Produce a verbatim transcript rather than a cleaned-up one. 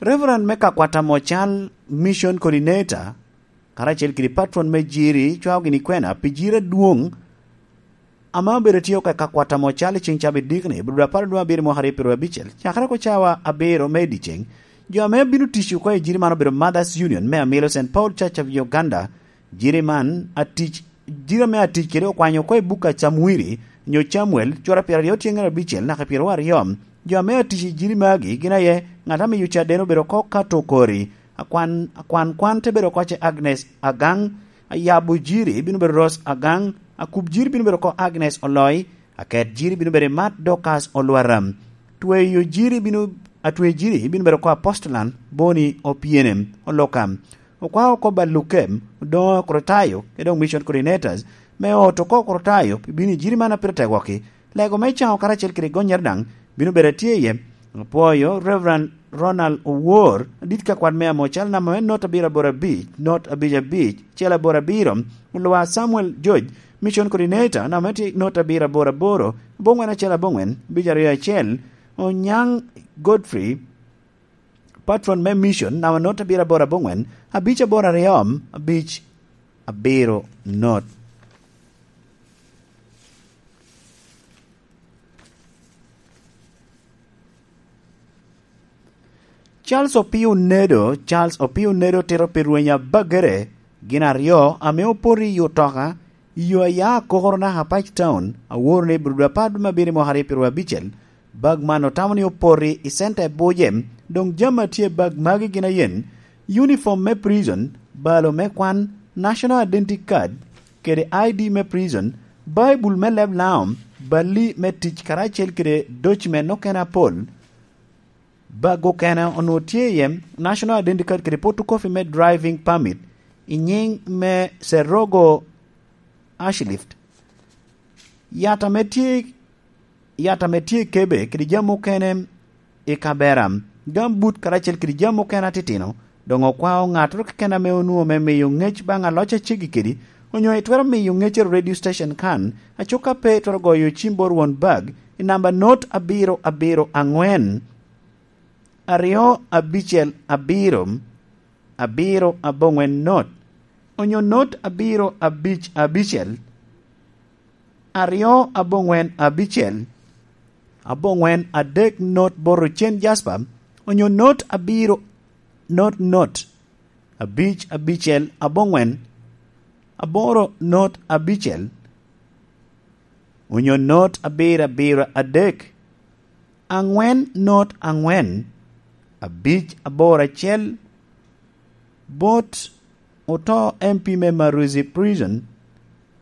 Reverend me kakwat amo cal Mission Coordinator karacel kede patron me Jiri cwao gini kwena pi jiri adwoŋ ame obedo tye oko i kakwat amo cal i ceŋ cabit dikni, i Lubira apar dwe abiro mwaka aryo piro abicel, cakere oko cawa abiro me i dyeceŋ. Jo ame bino tic oko i jiri man obedo Mothers Union me Amilo Saint Paul Church of Uganda. Jiri man atic, jiri ame atic kede okwanyo oko i buk a Camwiri, nyo Camuel, cura piro aryo tyeŋ abicel naka piro aryo. Jo ame atic i jiri magi gin aye ŋat amiyo caden obedo oko Kato Kori, akwan, akwan kwan te bedo oko ce Agnes Agaŋ, ayabo jiri bino bedo Rose Agaŋ, akub jiri bino bedo oko Agnes Oloi, aket jiri bino bedo Mat Dorcas Olwara, tweyo jiri bino, atwe jiri bino bedo oko Apostolan Boni Opiene Oloka. Okwao oko Baluke Odoŋo Okrutayo, kede doŋ Mission Coordinators, me ot oko Okrutayo pi bino i jiri man a pire tegoki. Lego me caŋo karacel kede gonnyere daŋ bino bedo atye iye. Apwoyo Reverend Ronald Owor, adit kakwat me Amocal, namba me not abiro aboro abic, not abic abic, cel aboro abiro, Olwa Samuel George, Mission Coordinator, namba me tye not abiro aboro aboro, aboŋwen acel aboŋwen, abic aryo acel, Onyaŋ Godfrey, patron me Mission, namba not abiro aboro aboŋwen, abic aboro aryo, abic abiro not. Charles Opio Nedo, Charles Opio Nedo tito pi rweny abagere gin aryo ame opoto i otoka i yo aya Akokoro naka Pac Town, aworo ni Burudu apar dwe me abiro mwaka aryo piro abicel. Bag man otamo ni opoto i center i Buje. Doŋ jami a tye i bag magi gin ayen: uniform me prison, balo me kwan, national identity card, kede I D me prison, Baibul me leb Laom, bali me tic karacel kede document okene apol. Bag okene onwoŋo tye iye national identity card kede photocopy me driving permit i nyiŋ me Serogo Ashlift. Yat ame tye, yat ame tye i kebe kede jami okene i kabera, gambut karacel kede jami okene atitino. Doŋ okwao ŋattoro keken ame onwoŋo me miyo ŋec baŋ aloc a ceggi kedi, onyo itwero miyo ŋeccere radio station kan, acuk ka pe itwero goyo cim bot won bag i namba not abiro abiro aŋwen, aryo abicel abiro, abiro aboŋwen not, onyo not abiro abic abicel, aryo aboŋwen abicel, aboŋwen adek not bot ocen jaspa, onyo not abiro not not, abic abicel aboŋwen, aboro not abicel, onyo not abiro abiro adek, aŋwen not aŋwen, abic aboro acel, bot oto M P me Maruzi Prison,